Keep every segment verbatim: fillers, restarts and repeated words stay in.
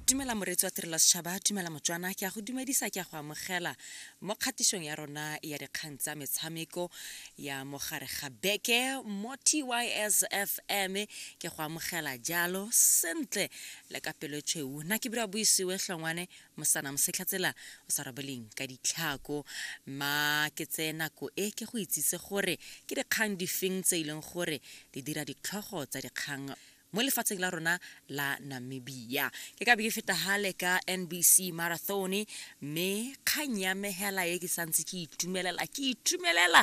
Dumela moreetsi wa Tirelo ya Setšhaba, dumela Motswana, ke a go dumedisa, ke a go amogela mo kgatisong ya rona ya dikgang tsa metshameko ya mogare ga beke mo T Y S F M. Ke go amogela jalo sentle le ka pelo tšhweu. Nna ke bira buisiwe hlongwane mosana mosetlhatsela o sa robeleng ka ditlhako. Ma ke tseye nako e ke go itsise gore ke dikgang difeng tse e leng gore di dira ditlhogo tsa dikgang mo lefatsheng la rona la Namibia. Ke ka be ke feta hale ka N B C Marathon, mme kgang ya me hela e ke santse ke itumelela, ke itumelela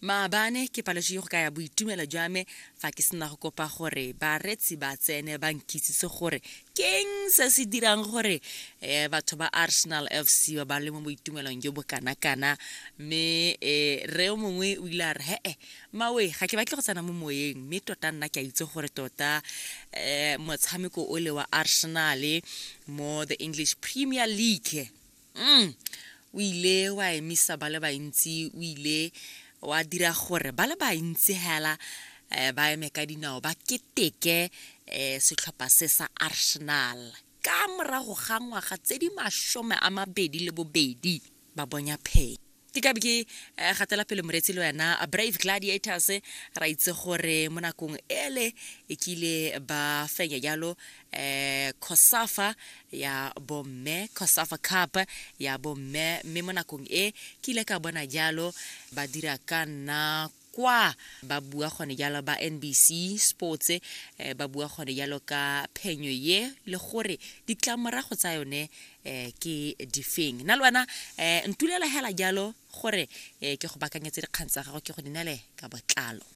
maabane, ke paletswe go ka ya boitumelo jwa me fa ke sena go kopa gore baretsi ba tsene ba nkitsise gore keng se se dirang gore um batho ba Arsenal F C ba ba le mo boitumelong jo bo kana-kana. Mme um re o mongwe o ile a re, "He-e mawe, ga ke batle go tsena mo moyeng, mme tota nna ke a itse gore tota um motshameko o le wa Arsenal mo the English Premier League mm, o ile wa emisa ba le bantsi, o ile wa dira gore ba le bantsi hela um ba eme ka dinao ba keteke um setlhopha se sa Arsenal ka morago ga ngwaga tse di masome a mabedi le bobedi ba bonya phenyo." Ke ka be ke eh, gatela pele moreetsi le wena. Brave Gladiators, ra itse gore mo nakong ele e kile ba fenya jalo eh COSAFA ya bomme, COSAFA Cup ya bomme, mme mo nakong e ke ile ka bona jalo ba dira ka nna kwa ba bua gone jalo ba N B C Sports, eh, ba bua gone jalo ka phenyo ye le gore ditlamorago tsa yone eh, ke difeng. Nna le wena eh, ntulela hela jalo gore eh, ke go bakanyetse dikgang tsa gago, ke go di nele ka botlalo.